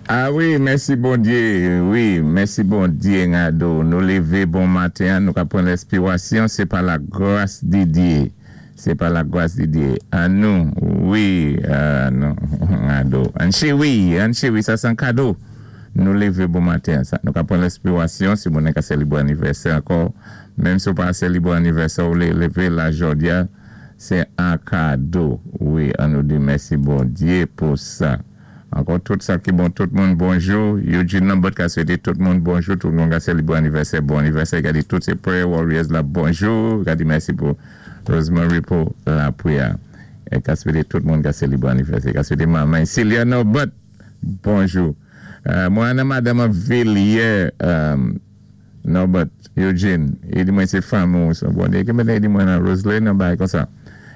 A wi, mèsi Bondyé, wi, mèsi Bondyé Ngado. Nou lévé bon maten an, nou ka pran lèspiwasyon, sé pa la gras di Dyé. Sé pa la gras di Dyé. An nou, wi, nou, Ngado. An chewi, an chewi, sa sé an kado. Nou lévé bon maten an. Sa, nou ka pran lèspiwasyon, si moun nan ka sélibwé anivèsè ankò, menm si ou pa sélibwé anivèsè ou lévé la jòdi a, sé an kado. Wi, an nou di mèsi Bondyé pou sa. Ankò tout sa ki bon, tout moun bonjou. Eugene Lambert ka swété tout moun bonjou, tout moun ka sélibwé anivèsè, bon anivèsè. Ka di tout sé prayer warriors la bonjou. Ka di mèsi pou Rosemary pou lapriyè. É ka swété tout moun ka sélibwé anivèsè. Ka swété manman Celia Norbert bonjou. Mwen an nan madanm an Villiers. Norbert, Eugene, i di mwen sé fanmi ou son bon e ki mèt i di mwen nan Roseline yon bagay konsa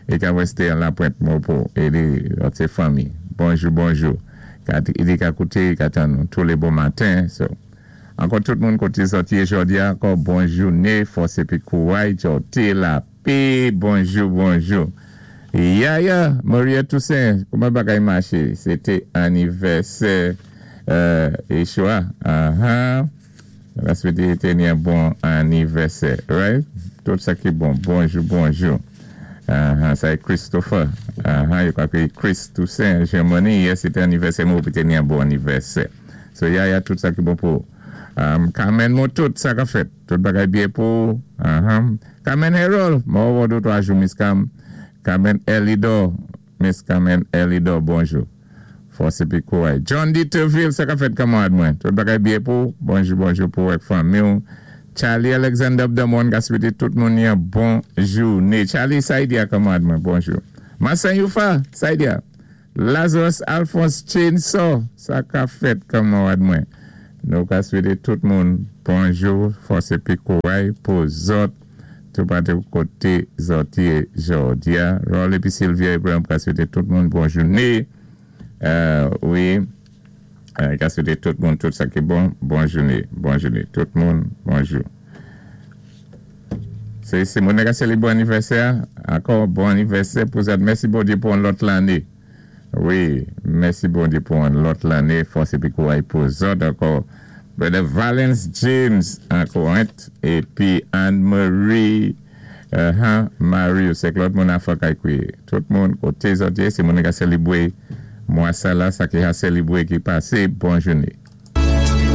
e ka wè sté an Lapwent Mopo e di lòt sé fanmi bonjou bonjou ka i di ka kouté i ka tann ou tou lé bon maten so ankò tout moun koté zòt yé jòdi a ankò bon jouné fòs épi kouray djòté lapé bonjou bonjou Yaya Maria Toussaint kouman bagay maché sé té anivèsè Yeshua ahaa. Nou ka swete Teni yon bon anivèsè right tout sa ki bon bonjou bonjou ahaa sa e Christopher ahaa yo ka kriye Chris Toussaint Germany yè se te anivèsè mwen hope Teni yon bon anivèsè so yaya tout sa ki bon pou ou Carmen mwen tout sa kap fèt tout bagay byen pou ou ahaa Carmen Harold mwen wè w 2 3 jou Miss Cam Carmen Elidor Miss Carmen Elidor bonjou. Fòs epi kouray. John Deterville sa kap fèt kanmarad mwen? Tout bagay byen pou ou? Bonjou bonjou pou ou ak fanmi w. Charly Alexander Abdamon ka swete tout moun yon bon joune. Charly sa y di a kanmarad mwen? Bonjou. Marcin Youfa sa y di a? Lazarus Alphonse Chainsaw sa kap fèt kanmarad mwen? Nou ka swete tout moun bonjou, fòs epi kouray pou zòt toupatou kote zòt ye jòdi a. Raul epi Sylvia Abraham ka swete tout moun bon joune. Wi, ka swete tout moun tout sa ki bon, bon joune, bon joune tout moun, bonjou. Se se moun nan ka selebre anivèsè a, ankò bon anivèsè pou zòt. Mèsi Bondye pou yon lòt lane. Wi mèsi Bondye pou yon lòt lane fòs epi kouray pou zòt ankò Brother Valens James an Corinth epi Anne Marie uh Marius ak lòt moun afè kay kwi tout moun kote zòt ye se moun ki ka selebre mwa sa la sa ki ha selebre ki pase bon joune.